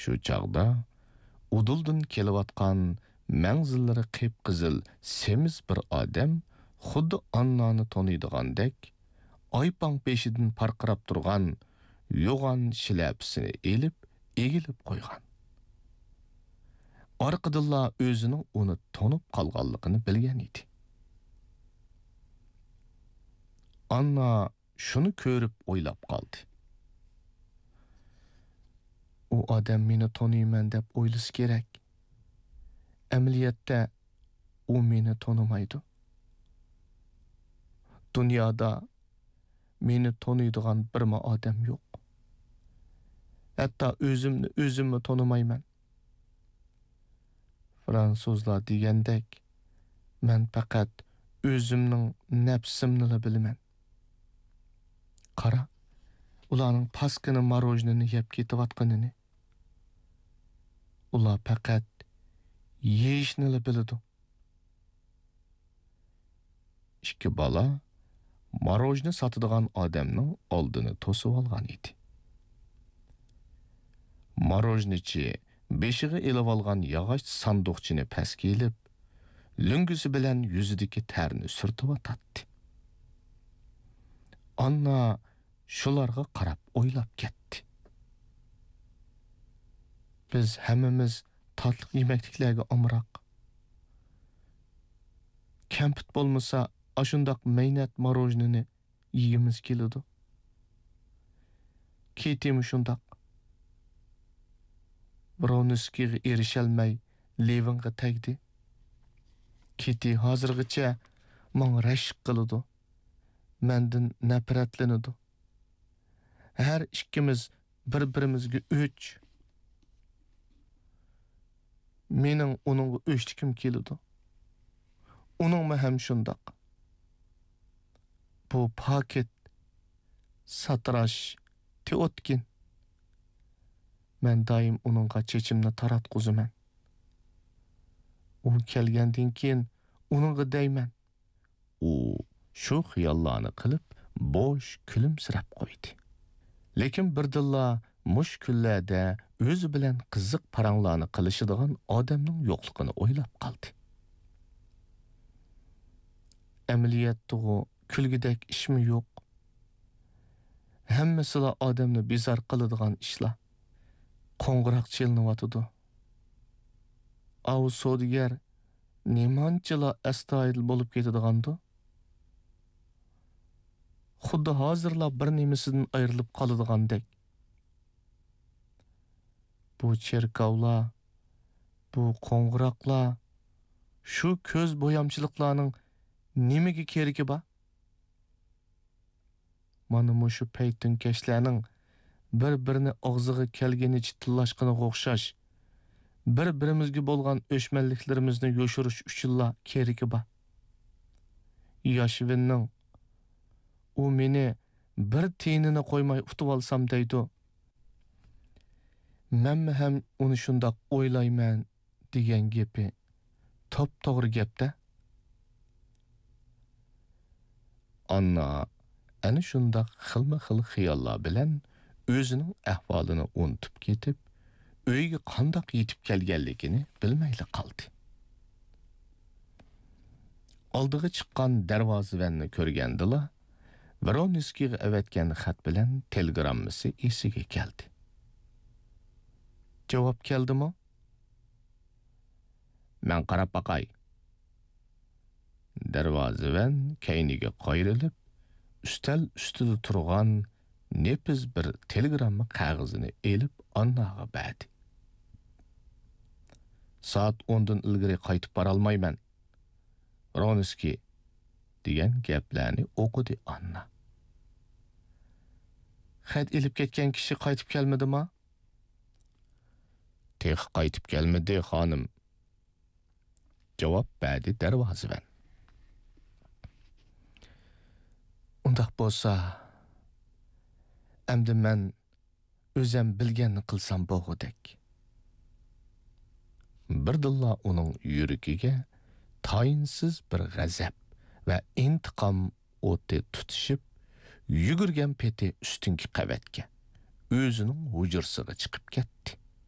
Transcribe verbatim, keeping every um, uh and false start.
شۇ چاغدا ئۇدۇلدىن كېلىۋاتقان مەڭزىللىرى قىپقىزىل سېمىز بىر ئادەم خۇددى ئاننانى تونۇيدىغاندەك، ئايپاڭ بېشىدىن پارقىراپ تۇرغان يوغان شىلەپىسىنى ئېلىپ، ئېگىلىپ قويغان. ئارقىدىنلا ئۆزىنىڭ ئۇنى تونۇپ قالغانلىقىنى بىلگەن ئىدى. ئاننا شۇنى كۆرۈپ ئويلاپ قالدى. ئۇ ئادەم مېنى تونۇيمەن دەپ ئويلىسا كېرەك. ئەمەلىيەتتە ئۇ مېنى تونۇمايدۇ. دۇنيادا مېنى تونۇيدىغان بىرمۇ ئادەم يوق. ھەتتا ئۆزۈمنى ئۆزۈممۇ تونۇمايمەن. فرانسۇزلار دېگەندەك، مەن پەقەت ئۆزۈمنىڭ نەپسىمنىلا بىلىمەن. قارا، ئۇلارنىڭ پاسكىنا ماروژنىنى يەپ كېتىۋاتقىنىنى. ئۇلار پەقەت يېيىشنىلا بىلىدۇ. ئىككى بالا ماروژنى ساتىدىغان ئادەمنىڭ ئالدىنى توسۇۋالغان ئىدى. ماروژنىچى بېشىغا ئېلىۋالغان ياغاچ ساندۇقچىنى پەسكە ئېلىپ، لۆڭگىسى بىلەن يۈزىدىكى تەرنى سۈرتۈۋاتاتتى. ئاننا شۇلارغا قاراپ ئويلاپ كەتتى. بىز ھەممىمىز تاتلىق يېمەكلىكلەرگە ئامراق. كەمپۈت بولمىسا، ئاشۇنداق مەينەت ماروژنىنى يېگۈمىز كېلىدۇ. كېتىمۇ شۇنداق. ۋرونسكىيغا ئېرىشەلمەي، لېۋىنغا تەگدى. كېتى ھازىرغىچە ماڭا رەشك قىلىدۇ. مەندىن نەپرەتلىنىدۇ. ھەر ئىككىمىز بىر-بىرىمىزگە ئۆچ. مېنىڭ ئۇنىڭغا ئۆچلۈكۈم كېلىدۇ. ئۇنىڭمۇ ھەم شۇنداق. بۇ پاكىت، ساتىراش تېئوتكىن. مەن دائىم ئۇنىڭغا چېچىمنى تاراتقۇزىمەن. ئۇ كەلگەندىن كېيىن ئۇنىڭغا دەيمەن. ئۇ شۇ خىياللارنى قىلىپ، بوش كۈلۈمسىرەپ قويدى. لېكىن بىردىنلا مۇشۇ كۈنلەردە ئۆزى بىلەن قىزىق پاراڭلارنى قىلىشىدىغان ئادەمنىڭ يوقلۇقىنى ئويلاپ قالدى. ئەمەلىيەتتىغۇ كۈلگۈدەك ئىشمۇ يوق. ھەممىسىلا ئادەمنى بىزار قىلىدىغان ئىشلار. قوڭغۇراق چېلىنىۋاتىدۇ. ئاۋۇ سودىگەر نېمانچىلا ئەستايىدىل بولۇپ كېتىدىغاندۇ؟ خۇددى ھازىرلا بىر نېمىسىدىن ئايرىلىپ قالىدىغاندەك. بۇ چېركاۋلار، بۇ قوڭغۇراقلار، شۇ كۆز بويامچىلىقلارنىڭ نېمىگە كېرىكى بار؟ مانا مۇشۇ پەيتۈنكەشلەرنىڭ بىر-بىرىنى ئاغزىغا كەلگىنىچە تىللاشقىنىغا ئوخشاش، بىر-بىرىمىزگە بولغان ئۆچمەنلىكلىرىمىزنى يوشۇرۇش ئۈچۈنلا كېرىكى بار. ياشۋىننىڭ، «ئۇ مېنى بىر تىيىنىنى قويماي ئۇتۇۋالسام» دەيدۇ. مەنمۇ ھەم ئۇنى شۇنداق ئويلايمەن دېگەن گېپى توپتوغرا گەپتە. ئاننا ئەنە شۇنداق خىلمۇ خىل خىياللار بىلەن ئۆزىنىڭ ئەھۋالىنى ئۇنتۇپ كېتىپ، ئۆيگە قانداق يېتىپ كەلگەنلىكىنى بىلمەيلا قالدى. ئالدىغا چىققان دەرۋازىۋەننى كۆرگەندىلا، ۋرونسكىيغا ئەۋەتكەن خەت بىلەن تېلېگراممىسى ئېسىگە كەلدى. جاۋاب كەلدىمۇ؟ مەن قاراپ باقاي. دەرۋازىۋەن كەينىگە قايرىلىپ، ئۈستەل ئۈستىدە تۇرغان نېپىز بىر تېلېگرامما قەغىزىنى ئېلىپ ئانناغا بەردى. سائەت ئوندىن ئىلگىرى قايتىپ بارالمايمەن، ۋرونسكىي، دېگەن گەپلەرنى ئوقۇدى ئاننا. خەت ئېلىپ كەتكەن كىشى قايتىپ كەلمىدىما؟ تېخى قايتىپ كەلمىدى، خانىم، جاۋاب بەردى دەرۋازىۋەن. ئۇنداق بولسا، ئەمدى مەن ئۆزەم بىلگەننى قىلسام بولغۇدەك. بىردىنلا ئۇنىڭ يۈرىكىگە تايىنسىز بىر غەزەپ ۋە ئىنتىقام ئوتى تۇتىشىپ، يۈگۈرگەن پېتى ئۈستۈنكى قەۋەتكە، ئۆزىنىڭ ھۇجرىسىغا چىقىپ كەتتى.